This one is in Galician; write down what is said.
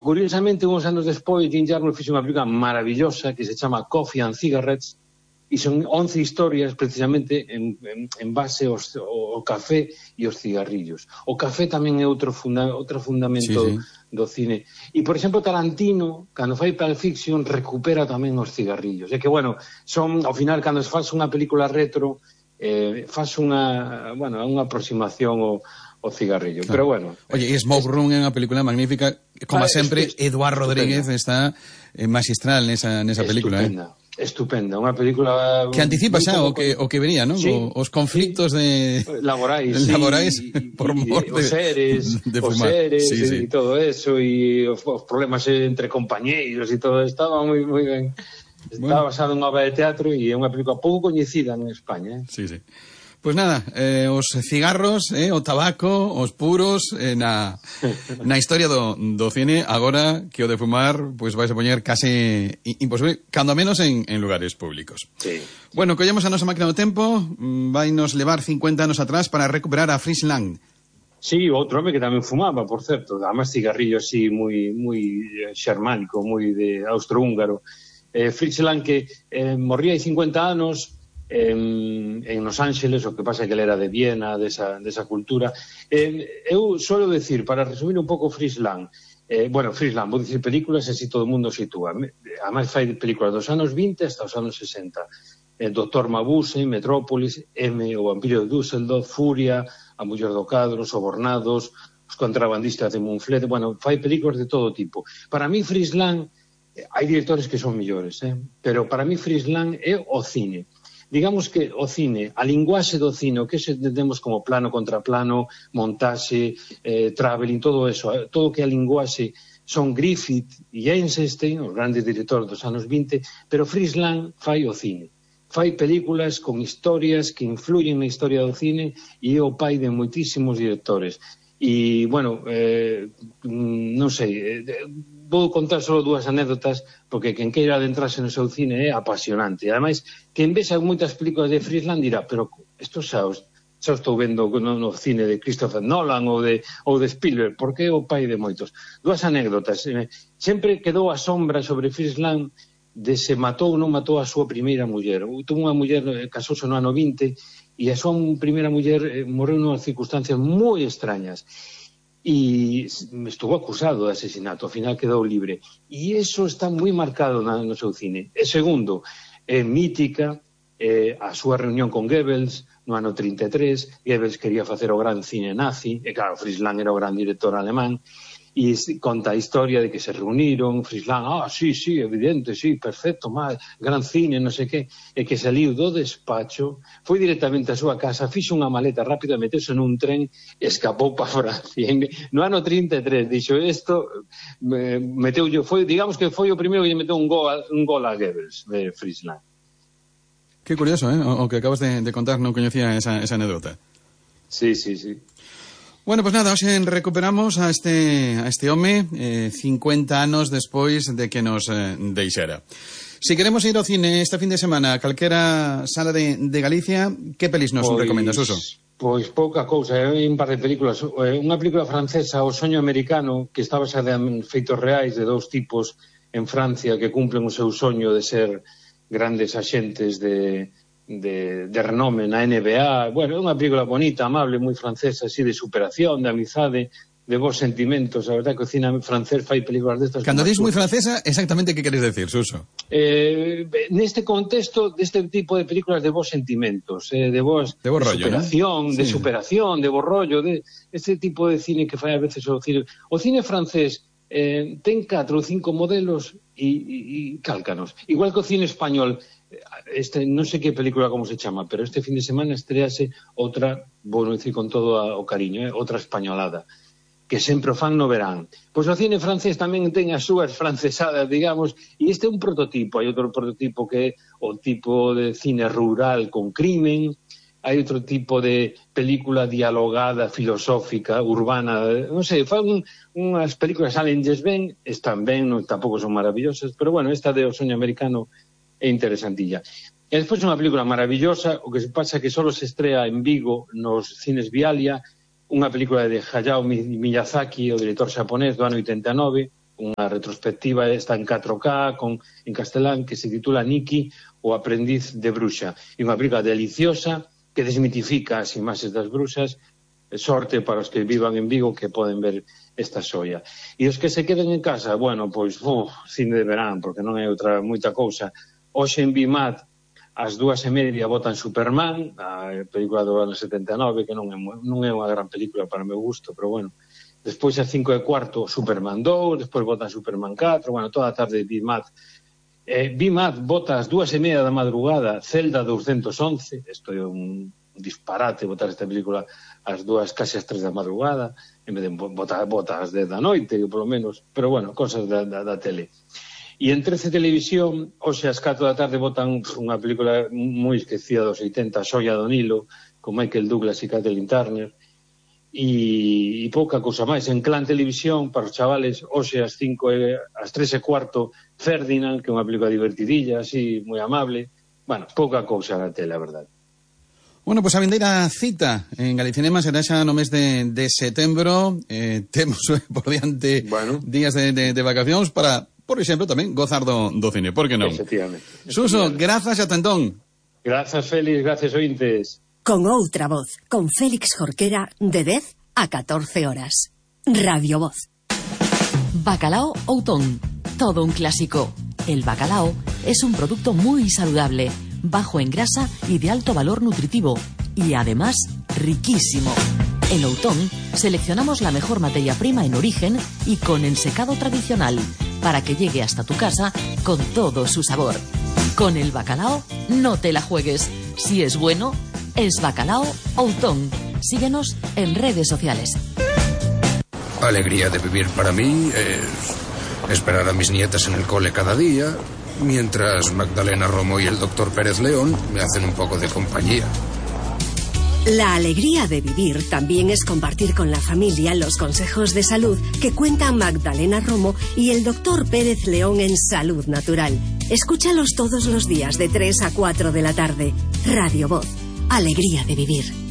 Curiosamente, uns anos despois, Jim Jarmusch fixe unha película maravillosa que se chama Coffee and Cigarettes, e son 11 historias precisamente en base ao café e os cigarrillos. O café tamén é outro fundamento do cine. E, por exemplo, Tarantino, cando fai Pulp Fiction, recupera tamén os cigarrillos. É que, bueno, son, ao final, cando se faz unha película retro, faz unha aproximación ao cigarrillo. Claro. Pero, bueno... Oye, Smoke Room é unha película magnífica. Como sempre, Eduardo Rodríguez está magistral nesa película. Estupenda, unha película que anticipa xa o que venía, non? Sí, os conflictos laborais por mor os seres e todo eso, e os problemas entre compañeiros e todo, estaba moi ben. Está basado en unha obra de teatro e é unha película pouco coñecida en España. Sí. Pois nada, os cigarros, o tabaco, os puros, na historia do cine, agora que o de fumar, pois vais a poñer case imposible, cando menos en lugares públicos. Sí. Bueno, collemos a nosa máquina do tempo, vai nos levar 50 anos atrás para recuperar a Fritz Lang. Sí, outro home que tamén fumaba, por certo, además cigarrillo así moi xermánico, moi de austrohúngaro. Fritz Lang que morría hai 50 anos en Los Ángeles, o que pasa é que ele era de Viena, desa cultura. Eu suelo decir, para resumir un pouco Fritz Lang, Fritz Lang, vou dicir películas e así todo o mundo sitúa. Además fai películas dos anos 20 hasta os anos 60. Dr. Mabuse, Metrópolis, O vampiro de Düsseldorf, Furia, A muller do cadro, Sobornados, Os contrabandistas de Moonflet, fai películas de todo tipo. Para mí Fritz Lang, hai directores que son millores, pero para mí Fritz Lang é o cine. Digamos que o cine, a linguaxe do cine, o que se entendemos como plano contra plano, montaxe, traveling, todo eso, todo o que a linguaxe son Griffith e Eisenstein, os grandes directores dos anos 20, pero Fritz Lang fai o cine. Fai películas con historias que influyen na historia do cine e é o pai de moitísimos directores. E, non sei, vou contar só dúas anécdotas, porque quen queira adentrarse no seu cine é apasionante. E, ademais, quen vexa moitas películas de Fritz Lang dirá, pero isto xa estou vendo no cine de Christopher Nolan ou de Spielberg, porque é o pai de moitos. Dúas anécdotas. Sempre quedou a sombra sobre Fritz Lang de se matou ou non matou a súa primeira muller. Tuvo unha muller, casouse no ano 20, e a súa primeira muller morreu nunhas circunstancias moi extrañas. E estuvo acusado de asesinato, ao final quedou libre. E iso está moi marcado no seu cine. E segundo, mítica a súa reunión con Goebbels no ano 33. Goebbels quería facer o gran cine nazi, e claro, Fritz Lang era o gran director alemán, e conta a historia de que se reuniron, Fritz Lang, sí, evidente, sí, perfecto, gran cine, non sei que, e que saliu do despacho, foi directamente á súa casa, fixo unha maleta rápida, meteuse nun tren, escapou para Francia. No ano 33, dixo isto, digamos que foi o primeiro que lle meteu un gol a Goebbels, de Fritz Lang. Que curioso, o que acabas de contar, non coñecía esa anécdota. Sí. Bueno, pues nada, hoxe recuperamos a este home 50 anos despois de que nos deixara. Si queremos ir ao cine este fin de semana a calquera sala de Galicia, que pelis nos recomendas, Suso? Pois pouca cousa, un par de películas. Unha película francesa, O soño americano, que está basada en feitos reais de dous tipos en Francia que cumplen o seu soño de ser grandes axentes de renome na NBA. É unha película bonita, amable, moi francesa, así de superación, de amizade, de bons sentimentos. A verdade que o cine francés fai películas destas. Cando dis moi francesa, exactamente que queres decir, Suso? Neste contexto, deste tipo de películas de bons sentimentos, de rollo, superación, ¿no? De superación, de bo rollo, de este tipo de cine que fai a veces o cine. O cine francés ten 4 ou 5 modelos e cálcanos. Igual que o cine español, non sei que película como se chama, pero este fin de semana estrease outra, vou dicir con todo o cariño, outra españolada, que sempre o fan no verán. Pois o cine francés tamén ten as súas francesadas, digamos, e este é un prototipo. Hai outro prototipo que é o tipo de cine rural con crimen, hai outro tipo de película dialogada, filosófica, urbana, non sei, fan unhas películas salenlles ben, están ben, tampouco son maravillosas, pero esta de O soño americano é interesantilla. E despois unha película maravillosa, o que se pasa que só se estrea en Vigo, nos cines Vialia, unha película de Hayao Miyazaki, o director xaponés do ano 89, unha retrospectiva, está en 4K, en castelán, que se titula Nikki, o aprendiz de bruxa. E unha película deliciosa que desmitifica as imaxes das bruxas. Sorte para os que vivan en Vigo que poden ver esta xoia. E os que se queden en casa, bueno, pois, cine de verán, porque non é outra moita cousa. Hoxe en Bimat, ás 2:30 botan Superman, a película do ano 79, que non é unha gran película para o meu gusto, pero bueno. Despois ás 5:15 Superman 2, despois botan Superman 4, bueno, toda a tarde Bimat. Bimat bota ás 2:30 da madrugada Zelda 211, isto é un disparate botar esta película ás 2, casi ás 3 da madrugada, en vez de botar ás 10 da noite, polo menos, pero bueno, cosas da tele. E en 13 Televisión, hoxe ás 4 da tarde botan unha película moi esquecida dos 80, Xoia do Nilo, con Michael Douglas e Kathleen Turner, e pouca cousa máis. En Clan Televisión, para os chavales, hoxe ás 3:15, Ferdinand, que é unha película divertidilla, así, moi amable. Bueno, pouca cousa na tele, a verdade. Bueno, pois a vindeira cita en Galicinema será xa no mes de setembro. Temos por diante días de vacacións para, por exemplo, tamén gozar do cine. Por que non? Efectivamente. Suso, grazas a tentón. Grazas, Félix, grazas, ointes. Con outra voz, con Félix Jorquera, de 10 a 14 horas. Radio Voz. Bacalao Outón, todo un clásico. El bacalao es un producto muy saludable, bajo en grasa y de alto valor nutritivo, y además riquísimo. En Outón seleccionamos la mejor materia prima en origen y con ensecado tradicional, para que llegue hasta tu casa con todo su sabor. Con el bacalao no te la juegues. Si es bueno, es Bacalao Outón. Síguenos en redes sociales. Alegría de vivir para mí es esperar a mis nietas en el cole cada día, mientras Magdalena Romo y el doctor Pérez León me hacen un poco de compañía. La alegría de vivir también es compartir con la familia los consejos de salud que cuentan Magdalena Romo y el doctor Pérez León en Salud Natural. Escúchalos todos los días de 3 a 4 de la tarde. Radio Voz. Alegría de vivir.